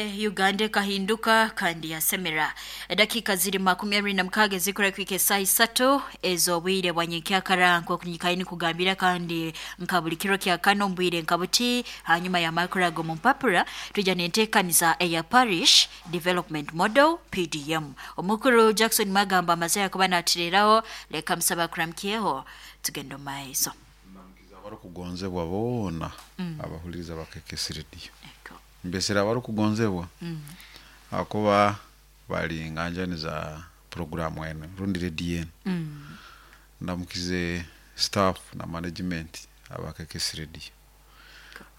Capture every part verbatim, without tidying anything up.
Uganda ekahinduka kandi yasemera. Edakika ziri makumi abiri na mukaaga ezikura kwika esaaha isatu ez'obwire bwa nyenkyakara, nk'oku kugambira kandi nka buli kiro kya kano omu bwire nka buti, hanyuma y'amakuru ago mu mpapura tujya n'enteekaniza eya Parish Development Model, P D M. Omukuru Jackson Magamba amaze yakuba natireraho, leka musaba kuramukyeho tugenda omu maiso. Abarukugonzebwa boona abahuliriza bakekesi rediyo, mbesera abarukugonzebwa akuba bali nganjani za programu eno rundi rediyo eno. Ndamukize staff na management abakekesi rediyo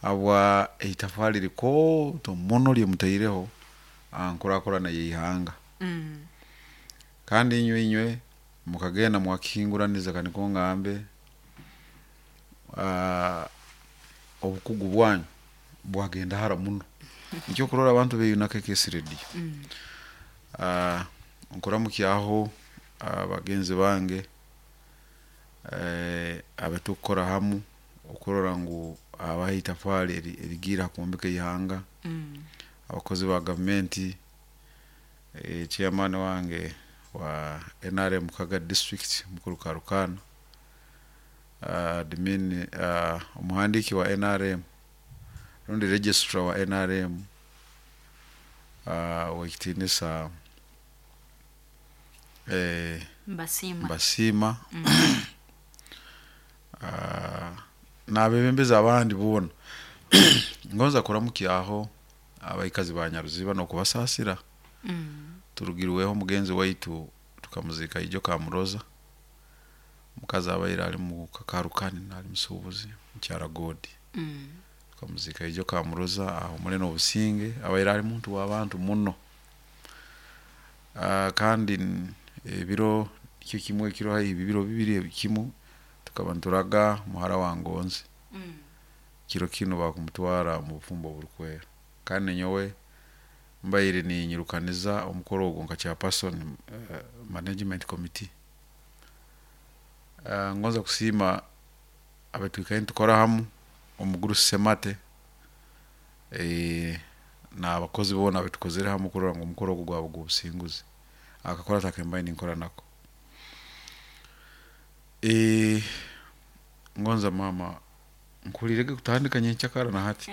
abwa eitafari likooto muno lyemutaireho aha nkurakurana y'ihanga. Kandi inywe inywe mukagenda mwakihinguraniza, kaniko ngambe uh, obukugu bwanyu bwagenda hara muno, nikyo kurora abantu beyuna K K S Radio. uh, nkuramukyaho abagenzi bange eh, abetukukora hamu okurora ngu abaha itafari erigiire ha kwombeka ihanga, abakozi ba gavumenti, eh, chairman wange wa N R M Kaga District, mukuru Karukana, uh, admin, uh, omuhandiki wa N R M rundi registrar wa N R M, uh, wekitinisa eh, Mbasiima. Mbasiima uh, n'abebembezi abandi boona. Ngonza kuramukyaho abaikazi ba Nyaruziba n'okubasaasira. Turugirweho mugenzi waitu, tukamuzika ijo Kamuroza, mukazi abaire ali mu kakarukani nali musuubuzi, mukyara Godi. Tukamuzika ijo Kamuroza aho mule n'obusinge, abaire ali muntu w'abantu muno. uh, kandi n- ebiro nikyo kimwe, ekiro haihi bibiro bibiri kimu tukaba nituraga muhara wa Ngonzi. Kiro kinu bakumutwara mu bufumbo oburukwera, kandi nyowe mbaire ninyirukaniza omukoro ogwo nka chairperson, uh, management committee. uh, ngonza kusiima abatwikaire nitukora hamu, omugurusi Semate eh, n'abakozi boona abetukozere hamu kurora ngu omukoro ogu gwaba gw'obusinguzi, akakora takembaire ninkora nako. eh, ngonza mama nkulirege kutandika nyenkyakara na hati,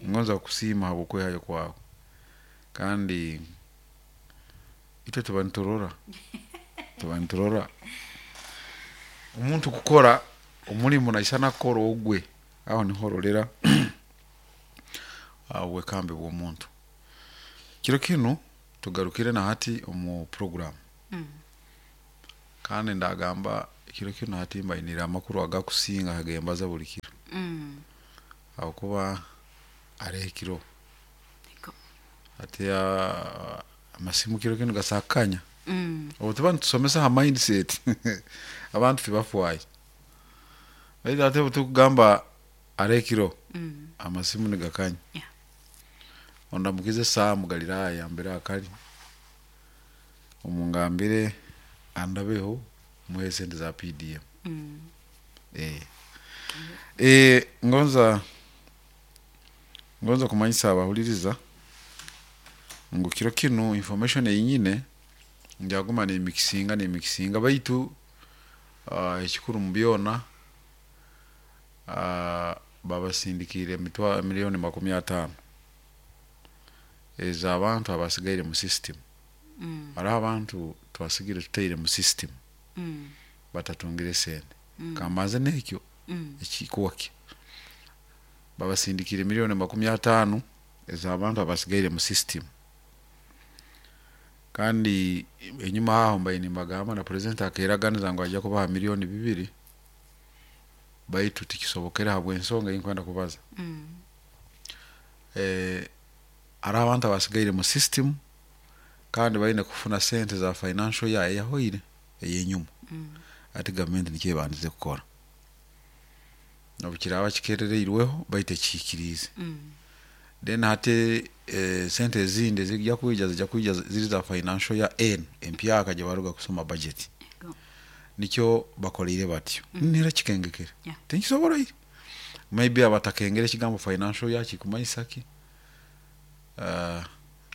ngonza kusiima habwokwehayo kwawe, kandi itwe tuba niturora tuba niturora omuntu kukora omulimu naisana kukora ogwe, aho niho orolera obwekambi bw'omuntu. Kiro kinu tugarukire na hati omu program, kandi ndagamba kiro kinu hati mbainire amakuru agakusinga hagembaza buli kiro, habwokuba areho ekiro hati ah, amasimu kiro kinu gasakanya. Obu tuba nitusomesa ha mindset, abantu tibafwayo, baitu ate obu tukugamba areho ekiro, amasimu nigakanya. Yeah. Ondamukize Saamu Galiraaya mbere akali, omungambire andabeho muhe sente za P D M. eh. Eh, ngonza ngonza kumanyisa abahuliriza ngu kiro kinu information eyinyine njaguma nemikisinga nemikisinga, baitu uh, ekikuru mu byona, uh, babasindikire emitwa miliyoni makumi ataano ez'abantu abasigaire mu system. Hariho abantu twasigire tutaire mu system batatungire sente. Kambanze n'ekyo ekikuwakyo, babasindikire miliyoni makumi ataano ez'abantu abasigaire mu system. Kandi enyuma aho mbaire nimbagamba na president akeraganiza ngu ajja kubaha miliyoni bibiri, baitu tikisobokere habw'ensonga eyinkwenda kubaza. eh, hariho abantu abasigaire mu system kandi baine kufuna sente za financial year eyahoire ey'enyuma. Ati gavumenti nikyo ebandize kukora, nobu kiraba kikerereirweho, baitu ekihikiriize. Then hati eh, sente ezindi ezijja kwija zijja kwija ziri za financial year enu empyaka gye baruga kusoma budget. Nikyo bakoleire batyo, nera kikengekere. Yeah. Tinkisobora ire, maybe abatakengere ekigambo financial year kikumanyisa ki. uh,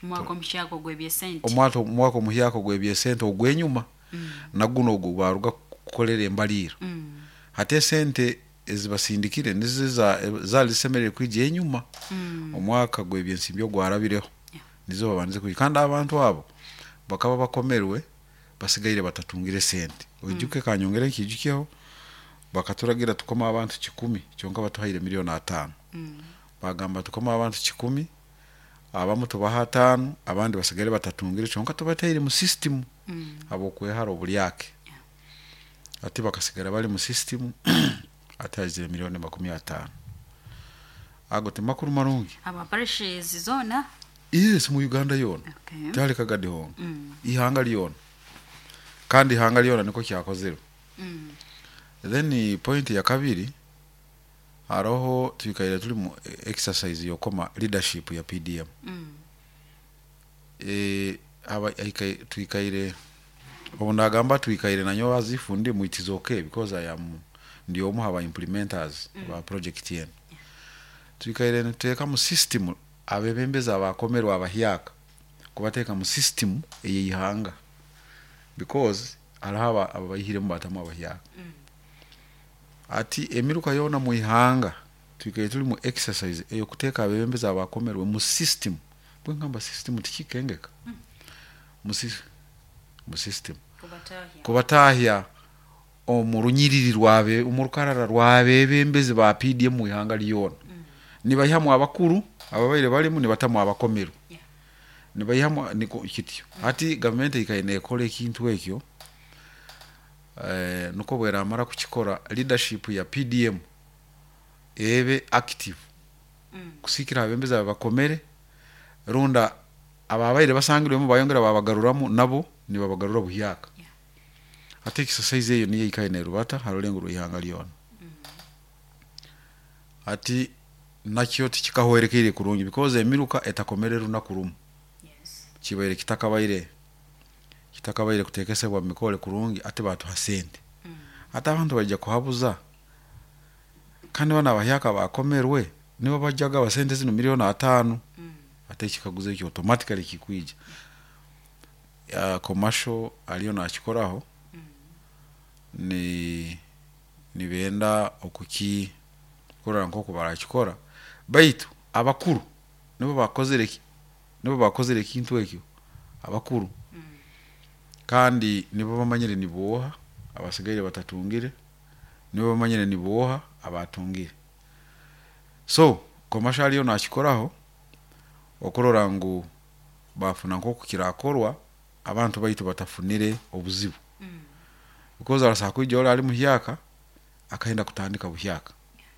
Omwaka omuhyaka ogw'ebyesente. Omwaka omwaka omuhyaka ogw'ebyesente ogw'enyuma Mm. naguno ogu baruga kukolera embaliiro. Mm. Hati esente ezibasindikire nizo za- zali zisemerere kwija enyuma Mm. omwaka gw'ebyensimbi ogwarabireho. Yeah. Nizo babandize kwija, kandi abantu abo bakaba bakomerwe basigaire batatungire sente. Oijuke, kanyongere nkijukyeho, bakaturagira tukoma abantu kikumi, kyonka batuhaire miliyoni ataano. Mm. Bagamba tukoma abantu kikumi, abamu tubaha ataano, abandi basigaire batatungire, kyonka tubataire mu system Mm. abokwehara obulyake. Yeah. Ati bakasigara bali mu system, ati haizire miliyoni makumi ataano. Ago timakuru marungi. Aba parishes zona? Yes, mu Uganda yoona. Okay. Tihali Kagadi honka, Mm. ihanga lyona, kandi ihanga lyona niko kyakozerwe. Mm. Then point ya kabiri, haroho twikaire tuli mu exercise yokoma leadership ya P D M. Mm. e, aba aikaire- twikaire, obu ndagamba twikaire nanyo azifu ndi mu, it is okay because I am ndi omu aba implementers mm. ba project yenu. Twikaire nituteeka mu system abebembezi abakomerwa abahyaka, kubateeka mu system ey'eihanga, because hariho aba- ababaihiremu batamu abahyaka. Mm. Ati emiruka yoona mu ihanga twikaire tuli mu exercise eyokuteeka abebembezi abakomerwe mu system. Bwengamba system, tikikengeka mu sys- mu system. Kubatahya. Kubatahya omu runyiriri rwabe, omu rukarara rwabebembezi ba P D M mu ihanga lyona. Mm. Nibayihamu abakuru ababaire balimu, nibatamu abakomerwe. Yeah. Nibayihamu niko kityo. Hati gavumenti ikaire nekora ekintu ekyo, eh, nuko bweramara kukikora, leadership ya P D M ebe active Mm. kusikira abebembezi aba bakomere, runda ababaire basangirwemu bayongera babagaruramu, nabo nibabagarura buhyaka. Yeah. Ate exercise eyo niyo ikaire nerubata ha rulengo rw'ihanga lyona. Ati nakyo tikikahwerekeire kurungi because emiruka etakomere runaku rumu. Yes. Kibaire kitakabaire kitakabaire kutekesebwa mu mikole kurungi. Ate batuha sente, Mm. ate abantu baija kuhabuza, kandi bana abahyaka bakomerwe nibo bajjaga basente zino miliyoni ataano. Mm. Ate ekikaguzo ekyo automatically kikwija. uh, commercial aliyo nakikoraho. Mm. Ni nibenda okuki kurora nkoku barakikora, baitu abakuru nibo bakozere ki- nibo bakozere ekintu ekyo, abakuru. Mm. Kandi nibo bamanyire niboha abasigaire batatungire, nibo bamanyire niboha abatungire. So commercial aliyo nakikoraho okurora ngu bafuna nkoku kirakorwa, abantu baitu batafunire obuzibu. Mm. Because arasa kwija ori ali muhyaka akaenda kutandika buhyaka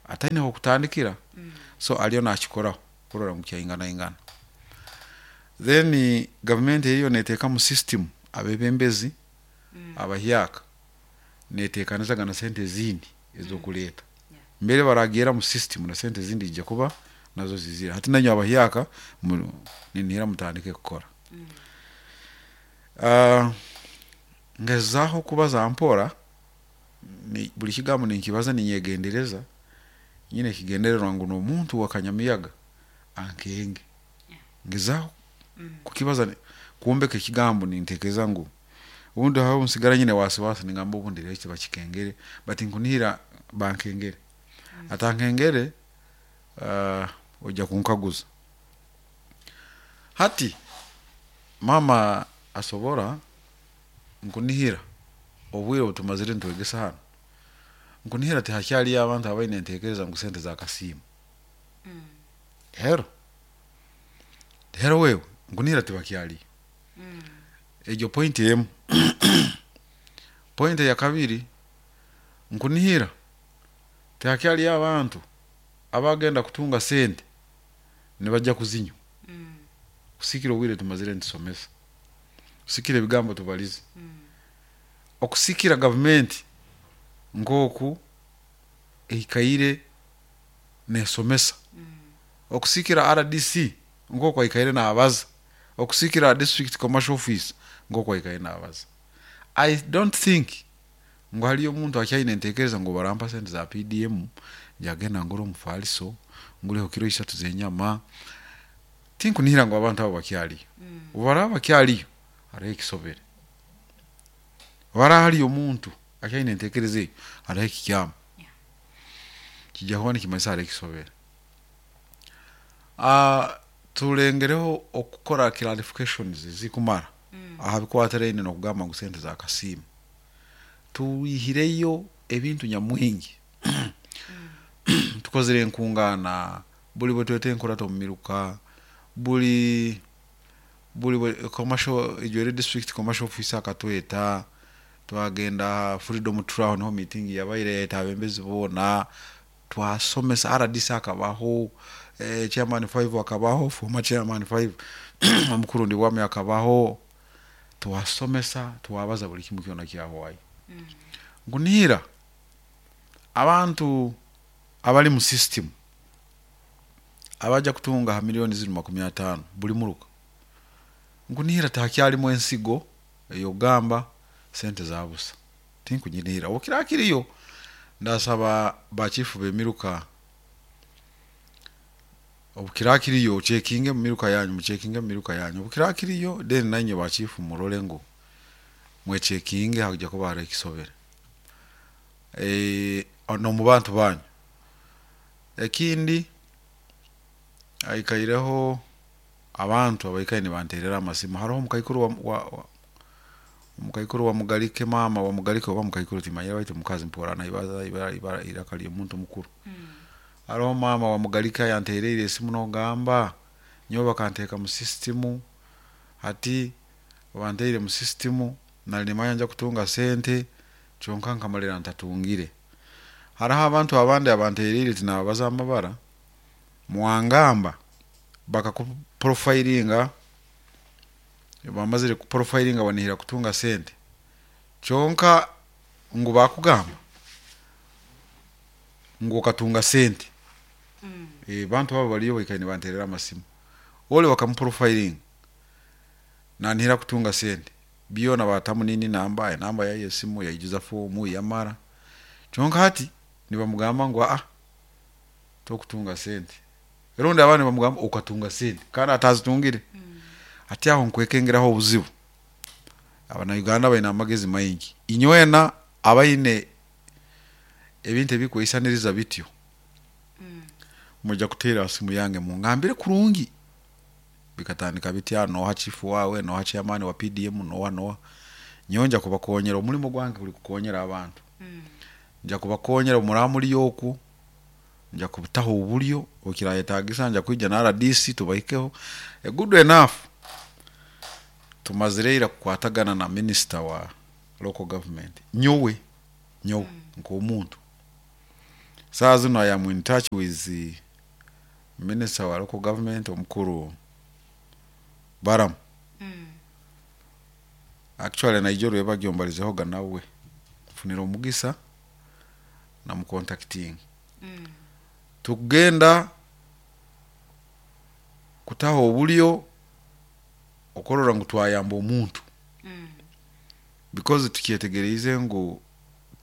ataineho kutandikira. Mm. So aliyo nakikoraho kurora ngu kyaingana ingana. Then gavumenti eyo neteeka mu system abebembezi Mm. abahyaka, netekanizaga na sente ezindi ezokuleeta. Yeah. Mbere baragera mu system, na sente ezindi zijja kuba nazo zizira. Hati nanyo abahyaka mu- ninihira mutandike kukora. Mm. uh, ngezaho kubaza mpora, ni, buli kigambo ninkibaza ninyegendereza, nyine kigendererwa ngu n'omuntu wa kanyamiyaga ankenge. Yeah. Ngezaho Mm. kukibaza ni- kuombeka ekigambo, nintekereza ngu ubundi aho nsigara nyine wasiwasi, ningamba ubundi rero kiba kikengere, but nkunihira bankengere. Atankengere, uh, ojja kunkaguza. Hati mama asobora, nkunihira obwire obutumazire nitwegesa hano, nkunihira tihakyaliyo abantu abaine entekereza ngu sente za kasiimu. Mm. Hero hero wewe, nkunihira tibakyaliyo. Mm. Egyo point emu. Point ya kabiri, nkunihira tihakyaliyo abantu abagenda kutunga sente nibajja kuzinywa. Mm. Kusikira obwire tumazire nitusomesa, kusikira ebigambo tubalize, Mm. okusikira gavumenti nk'oku eikaire nesomesa, Mm. okusikira R D C nk'oku aikaire nabaza, okusikira district commercial office nk'oku aikaire nabaza, I don't think ngu haliyo omuntu akyaine entekereza ngu barampa sente za P D M njagenda ngure omufaliso, ngureho kiro isatu z'enyama. Tinkunihira ngu abantu abo bakyaliyo. Obu bakyaliyo hariho ekisobere, obu hariyo omuntu akyaine entekereza eyo hariho ekikyamu. Yeah. Kijja kuba nikimanyisa hariho ekisobere. Ah, tulengereho okukora clarifications ezikumara aha bikwatiraine n'okugamba ngu sente za kasiimo. Tuihireyo ebintu nyamwingi, tukozere enkungaana buli bwe tweta enkurato omu miruka, buli buli bwe commercial Ijwere district commercial officer akatweta, twagenda Freedom Trail, niho meeting yabaire yayeta abembezi boona, twasomesa. R D C akabaho, eh, chairman five akabaho, former chairman five omukuru Ndibwami akabaho, twasomesa, twabaza buli kimu kyona kyahwayo. Nkunihira abantu abali mu system abaja kutunga ha miliyoni ziri makumi ataano buli muruka, nkunihira tahakyalimu ensigo eyogamba sente za busa, tinkunyinihira. Obukira kiriyo ndasaba bachifu b'emiruka, obukira kiriyo chekinge mu miruka yanyu, muchekinge mu miruka yanyu obukira kiriyo. Then nanye bachifu murole ngu mwechekinge, hakuja kuba hariho ekisobere e, n'omu bantu banyu. Ekindi, aikaireho abantu abaikaire nibanterera amasimu. Hariho omukaikuru wa, wa, wa omukaikuru wa Mugalike, maama wa Mugalike oba mukaikuru timanyire, baitu mukazi mpora naibaza ibara ibara iraka ly'omuntu mukuru. Hariho maama wa Mugalike yantereire esimu nogamba nyowe bakanteeka mu system, hati banteire mu system nali nimanya nja kutunga sente, kyonka nkamalira ntatungire. Hariho abantu abandi abantereire, tinababaza amabara, mwangamba bakakuprofilinga, bamazire kuprofilinga banihira kutunga sente, kyonka ngu bakugamba ngu okatunga sente. E, bantu abo baliyo baikaire nibanterera amasimu. Ole bakamuprofilinga nanihira kutunga sente, byona batamu nini, namba enamba yaye esimu, yaijuza fomu yamara, kyonka hati nibamugamba ngu aa tokutunga sente, rundi abandi bamugamba okatunga sente kandi atazitungire. Ati aho nkwekengeraho obuzibu. Abanauganda baine amagezi maingi, inywena abaine ebintu ebikweisaniriza bityo mujja kuteera simu yange mungambire kurungi bikatandika bitya, noha chifu wawe, noha chairman wa P D M, noha noha. Nyowe nja kubakonyera, omulimo gwange guli kukonyera abantu. Nja kubakonyera muramuli oku, nja kubutaho obulyo okirayetagisa, nja kwija na R D C tubahikeho. A good enough, tumazire ira kukwatagana na minister wa local government. Nyowe nyowe nk'omuntu saa zino I am in touch with the minister wa local government omukuru Baram. Actually naijo rwebagyo nawe nfunire omugisa namucontacting, tukugenda kutaho obulyo okorora ngu twayamba omuntu, because tukyetegereize ngu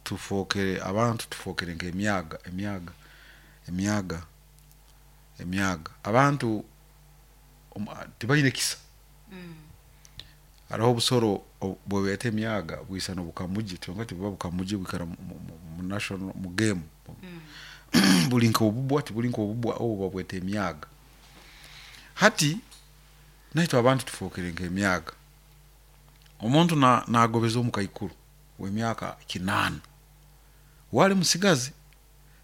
tufokere abantu, tufokere nk'emyaga, emyaga, emyaga, emyaga. Abantu omu- tibaine kisa. Hariho obusoro o- bwebeeta emyaga, bwisana obukamugi, kyonka tibuba bukamugi, bwikara mu- mu- mu national mu game, buli nk'obubwa, tibuli nk'obubwa, obu babweta emyaga. Hati naitwe abantu tufokere nk'emyaga. Omuntu na- nagobeza omukaikuru w'emyaka kinaana wali musigazi,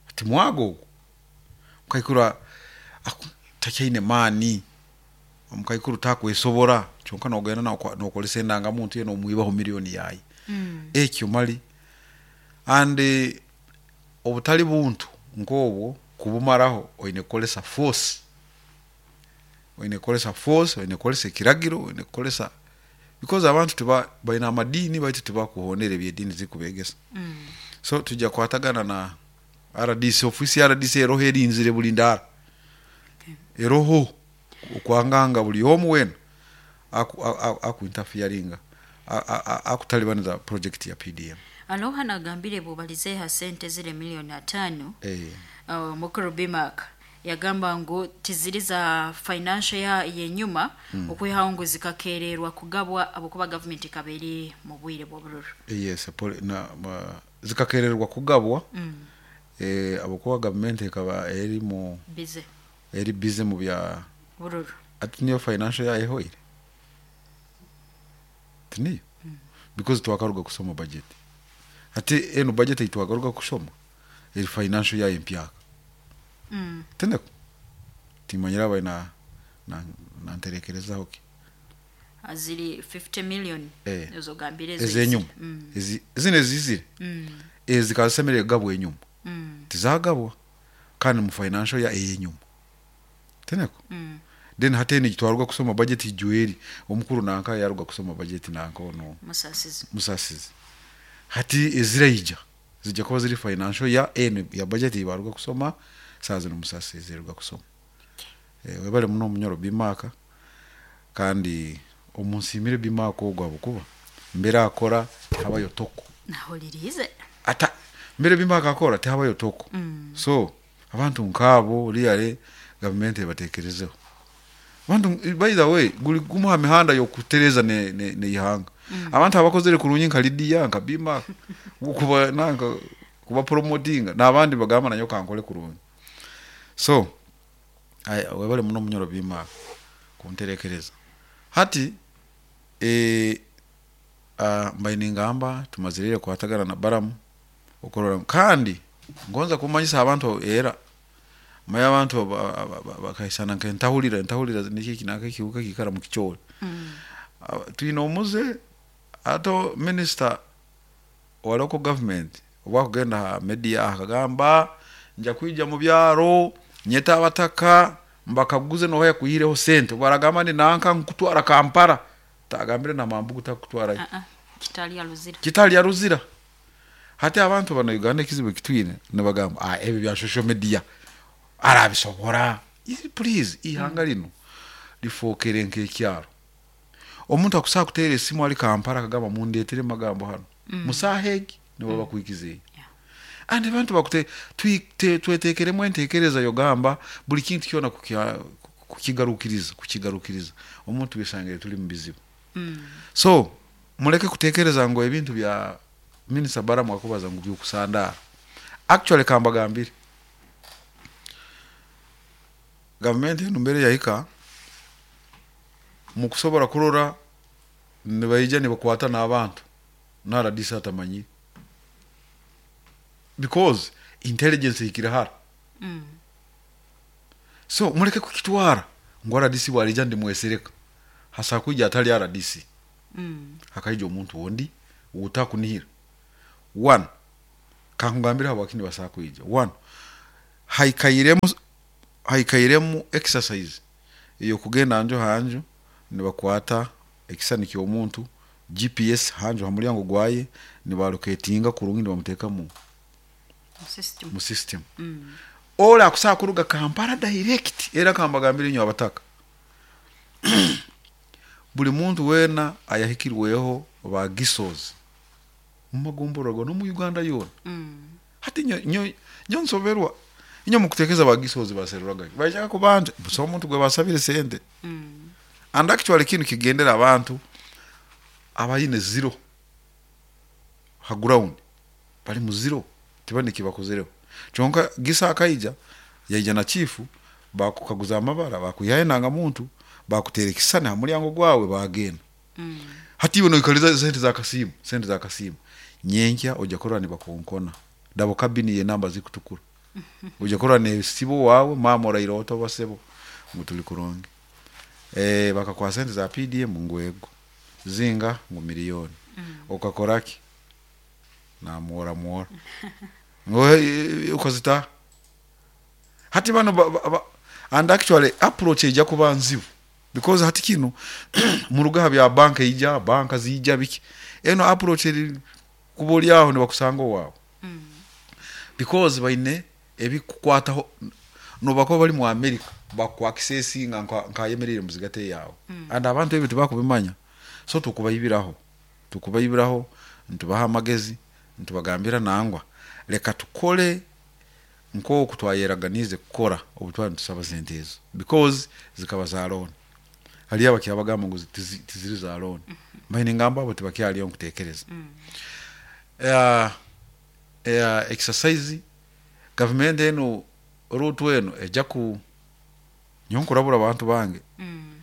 ati mwaga ogwo mukaikuru a- aku- takyaine maani, omukaikuru takwesobora, kyonka nogenda nokwa- nokolesa endangamuntu ye nomwibaho miliyoni yaye. Ekyo mali and eh, obutali buntu nk'obwo kubumaraho oine kukolesa force, oine kukolesa force, oine kukolesa ekiragiro, oine kukolesa, because abantu tiba baine amadiini baitu tibakuhondera ebyediini zikubegesa. So tujja kukwatagana na R D C, ofisi ya R D C eroho erinzire buli ndaara, eroho okwanganga buli omu wena aku, aku, aku interferinga akutalibaniza project ya P D M. Aloha nagambire bubalize ha sente zile miliyoni ataano. Eh. uh, mukuru Bimak Yagamba ngu tiziri za financial ya yenyuma mm. Okwihaho ngu zikakererwa kugabwa abukuba government ikaba eri mu bwire bw'obururu. Yes, poli, na ma, zikakererwa kugabwa mm. Eh, abukuba government ikaba eri mu busy eri busy mu bya bururu ati niyo financial ya ehoire tiniyo mm. Because twakaruga kusoma budget ati eno budget itwakaruga kusoma eri financial ya empyaka mm. Tendeko timanyira abaina na nanterekerezaho ki Aziri fifty million Eh. ezo gambire ezo ezenyuma mm. ezi zine zizire mm. ezikasemerere gabwa enyuma mm. tizagabwa kandi mu financial ya eyenyuma teneko mm. Then hateni gitwarwa kusoma budget ijueri omukuru nanka yaruga kusoma budget nanka ono Musasizi Musasizi hati eziraija zijja kuba ziri financial ya en ya budget ibaruga kusoma sazi no Musasizi ruga kusoma okay. E, webale muno munyoro bimaka kandi omunsimire bimaka ogwa bukuba mbere akora habayo toko Nahulirize ata mbere bimaka akora tihabayo toko mm. So abantu nkabo liyale government ebatekerezeho abantu by the way guli gumuha mihanda yokutereza ne ne, ne ihanga mm. Abantu abakozere kurunyi nka Lydia nka Bima kuba nanka kuba promotinga nabandi bagamba nanyo kankole kurunyi so ay webale muno munyoro Bima kunterekereza hati e uh, mbainingamba tumazirire kwatagana na Baramu okorora kandi ngonza kumanyisa abantu era maya abantu bakaisana nke ntahulira ntahulira niki kinaka kiuka kikara mu kichole mm. Uh, tuino omuze ato minister wa local government wakugenda ha media akagamba nja kuija mu byaro nyeta abataka mbakaguze no hoya kuyireho sente baragamba ni nanka nkutwara Kampala tagambire na mambugu takutwara uh -uh. Kitali ya Luzira Kitali ya Luzira hati abantu bana Uganda kizibu kitwine nabagamba ah ebi bya social media arabisobora please ihanga lino lifokere nkekyaro omuntu akusaa kuteera esimu ali Kampala akagamba mundeetere magambo hano mm. Musahegi nibo bakwikize Yeah. And abantu bakute twetekeremu entekereza yogamba buli kintu kyona kukigarukiriza kukigarukiriza omuntu wisangire tuli mu bizibu mm. So muleke kutekereza ngo ebintu bya Minister Baramu akubaza ngo byukusandara actually kambagambire government eno mbere yahika mukusobora kurora nibaija nibakwata n'abantu naradisa atamanyi because intelligence ikirahara mm. So muleke kukitwara ngo R D C bwalija ndimwesereka hasa kuja atali R D C mm. hakaija omuntu wondi utakunihira one kankugambira habakini basakuija one haikairemu haikairemu exercise iyo kugenda njo hanjo nibakwata ekisani ky'omuntu G P S hanjo hamulyango gwaye nibalocatinga kurungi nibamuteka mu system mu system mm. Ola akusaa kuruga Kampala direct era kambagambira inyo abataka buli muntu wena ayahikirweho ba gisozi mu magomborogo no mu Uganda yona mm. hati nyo nyo nyo nsoberwa inyo mukutekeza ba gisozi baseruraga bajaka kubanja so omuntu gwe basabire sente mm. And actually kintu kigendera abantu abayine zero ha ground bali mu zero tibane kibakozereho chonka gisa akaija yaija na chifu bakukaguza amabara bakuyaye nanga muntu bakuterekisana hamulyango gwawe bagenda mm. Hati iwe noikaliza sente za kasimu sente za kasimu nyenkya ojja korora ni bakonkona dabo kabini ye namba zikutukura ojja korora ne sibo wawe mama orairota basebo mutuli kuronge eh bakakwa sente za P D M ngwego zinga ngu milioni mm. Okakoraki na muora muora ngo ukozita hati bano ba, ba, ba, and actually approach ija kuba nzibu because hati kino mu rugaha bya bank ija banka zija biki eno approach eri kuboli aho ne bakusanga wawe mm. Because baine ebikukwataho no bako bali mu America bakwa accessinga nka nkayemerere muzigate yawe mm. And abantu ebyo tebakubimanya so tukubayibiraho tukubayibiraho ntubaha amagezi ntubagambira nangwa leka tukole Nk'oku twayeraganize kukora obu twali nitusaba sente ezo, because zikaba za loan. Haliyo abakyabagamba ngu tizi- tiziri za loan, mbaine ngamba abo tibakyaliyo nkutekereza. uh, uh, exercise gavumenti eno, Ruto eno ejja ku nyo nkurabura abantu bange. Mm.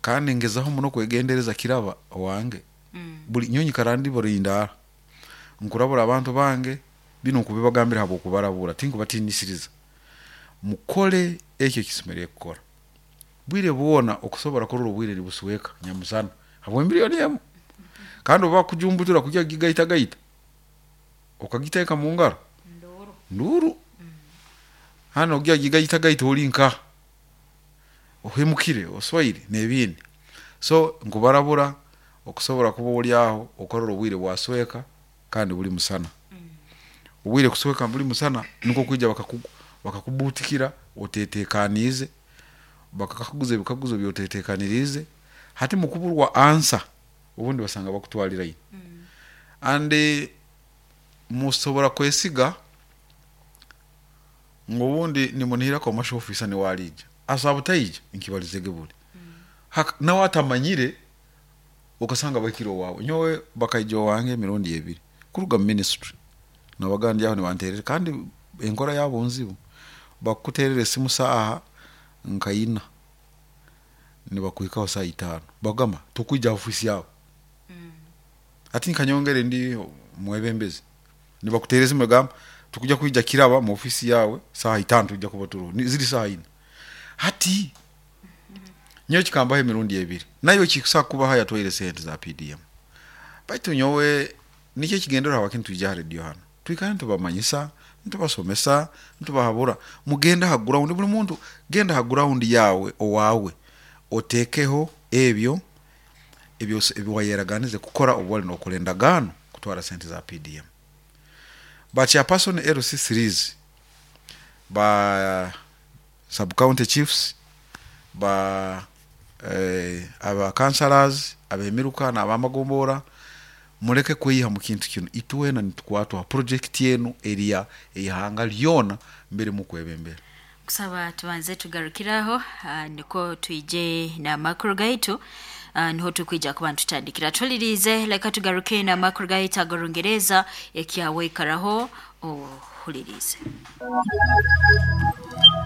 Kandi ngezaho muno kwegendereza kiraba owange. Mm. Buli nyonyi karandi burindaara nkurabura abantu bange, bino nkubibagambira habwokubarabura, tinkubatinisiriza. Mukole ekyo ekisemerire kukora bwire bwona okusobora kurora obwire nibusweka nyamusana habwa miliyoni emu, kandi oba kujumbutura kujya gigaitagaita okagiteeka mu ngaro. Nduru. Nduru hano ogya gigaitagaita oli nka ohemukire oswaire n'ebindi. So nkubarabura okusobora kuba oli aho okarora obwire bwasweka kandi buli musana, obwire kusweka buli musana nukwo kwija bakaku- bakakubutikira otetekaniize, bakakakuguza ebikaguzo byotetekaniriize. Hati mukuburwa answer obundi basanga bakutwalirayo. And eh, musobora kwesiga ngu obundi nimunihira commercial officer niwe aliija, asaba butaija nkibalizege buli. Hak- nawe atamanyire okasanga bahikire owawe. Nyowe bakaija owange emirundi ebiri kuruga mu ministry, nabagandi aho nibanterera, kandi enkora yabo nzibu. Bakuterera esimu saaha nkaina, nibakuhikaho saa itaano, bagamba tukwija ofisi yawe. Ati nkanyongere ndi mwebembezi, nibakuterera esimu bagamba tukuja kwija kiraba mu ofisi yawe saa itaano, tujja kuba turoho. Ni- ziri saa ina. Hati nyowe kikambaho emirundi ebiri, nayo kikusa kubaho yatwaire sente za P D M. Baitu nyowe nikyo ekigendera hawaki nitwija ha radio hano, twikare nitubamanyisa, nitubasomesa, nitubahabura. Mugende ha ground, buli muntu genda ha ground yawe owawe, otekeho ebyo ebyo ebiwayeraganize kukora obu wali nokora endagaano kutwara sente za P D M. Ba chairperson L C threes, ba sub county chiefs, ba eh, aba councillors abemiruka n'abamagombora, muleke kweyiha mu kintu kino. Itwena nitukwatwa project enu eriya eihanga lyona mbere mukwebembera. Kusaba tubanze tugarukiraho, ah, niko twije n'amakuru gaitu, ah, niho tukwija kuba ntutandikira tulirize. Leka tugaruke n'amakuru gaitu ag'orungereza ekyaweikaraho ohulirize.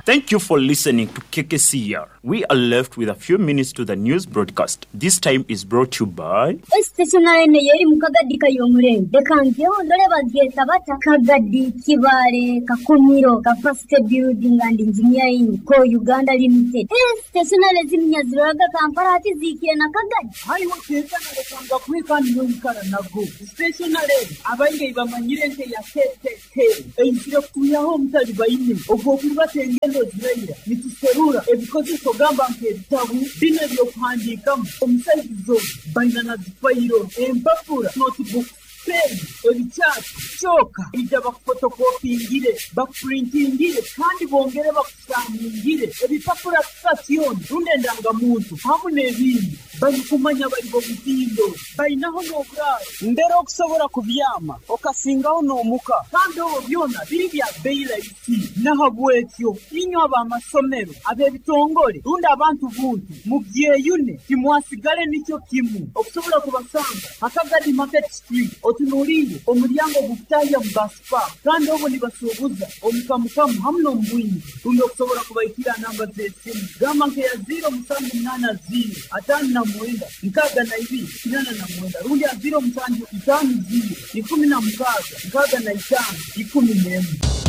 Thank you for listening to K K C R. We are left with a few minutes to the news broadcast. This time is brought to you by Stationery eri mu Kagadi kayomurembe, reka ngeho ndore babyeta bata Kagadi Kibale Kakumiro Capacity Building and Engineering Co Uganda Limited. Eh, stationery ziminyaziraga Kampala hati zikire na Kagadi. Hariho ketanalekanga kweka niyoikara nago stationery abaingi bamanyire nke ya K K K eizire kutuyaho omutali baine ogwokurubata engendo ziraira. Nituserura ebikozeso gamba nk'ebitabu bino ebyokuhandiikamu omusaizi zona baina na zifayiro, empapura, notebook, pen, ebikyati kyoka ija bakufotokopingire, bakupurintingire kandi bongere bakusaningire ebipapura sasiyoni rundi endangamuntu hamu n'ebindi. Barikumanya bari bomutindo bainaho n'oburaaro mbere okusobora kubyama okasingaho n'omuka, kandi obwo byona biri bya bei rahisi. Nahabwekyo inywe ab'amasomero, ab'ebitongole rundi abantu buntu mubyeyune, timwasigale nikyo kimu. Okusobola kubasanga Hakagadi Market Street, otunuliire omulyango gukutahya mu basipa, kandi obwo nibasuubuza omukamukamu hamu n'omubwingi. Rundi okusobola kubaikira namba z'esimu gamba nkeya ziro musanju munaana ziro ataano na mwenda nkaaga na ibiri kinaana na mwenda rundi ya ziro musanju itaano ziro ikumi na mukaaga nkaaga na itaano ikumi n'emu.